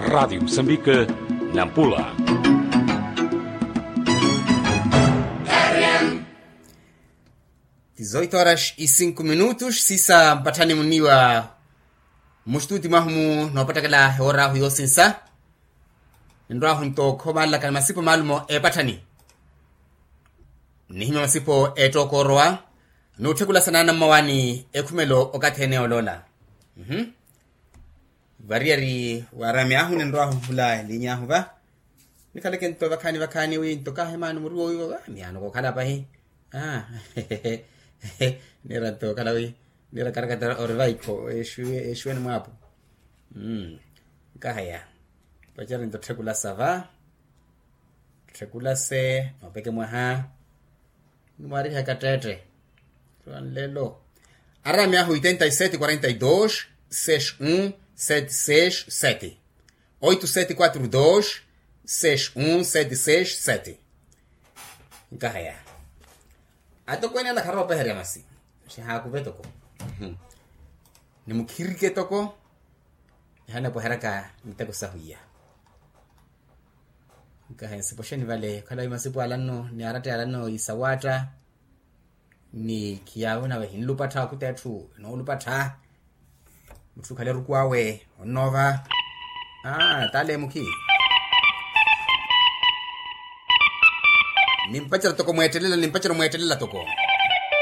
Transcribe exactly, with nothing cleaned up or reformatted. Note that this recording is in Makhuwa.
Radiyo musambika, nampula. Dizoito horas e cinco minutos sisa mpatthani muniwa. Mustudi mwahu mu noopattaka la eworahu yoosinsa. Ninrwahu nto khomaalaka ni masipo maalumo eepatthani. Nihimya masipo eettooko orowa. Nuutthekulasa naana mmawaani ekhumelo okathi ene oloola. Variyari waarami ahu ninrwahu hula eliinyahu va. Nikhaleke nto vakhaani vakhaani wi nto kaahemaani muriwo wiivo va miyaano kookhala pahi. Niira nto okhala wi niira karakata ori vaikho. Exuweni mwaapo. Nkahaya. Pacari nto tthekulasa va. Tthekulase mapeke mwaha. Nimwaarihaka tteette. Lelo. Arami ahu oitenta e sete quarenta e dos seis um sete seis sete. Oito sete quatro dos seis um sete seis sete. Nkahaya. Atokweene ala kharoopeherya masi. Xihaakuve toko. Nimukhirike toko. Ihanepoheraka miteko sahu iya. Nkaha ensipoxeni vale okhala wi masipo alanno ni aratta yalanno isawaatta. Ni khiyaawe nawe hinlupattha okhuta etthu enoolupattha. Mutthu okhale eruku awe onnoova. Aa tale mukhi. Nimpacera toko mweettelela nimpacera mweettelela toko.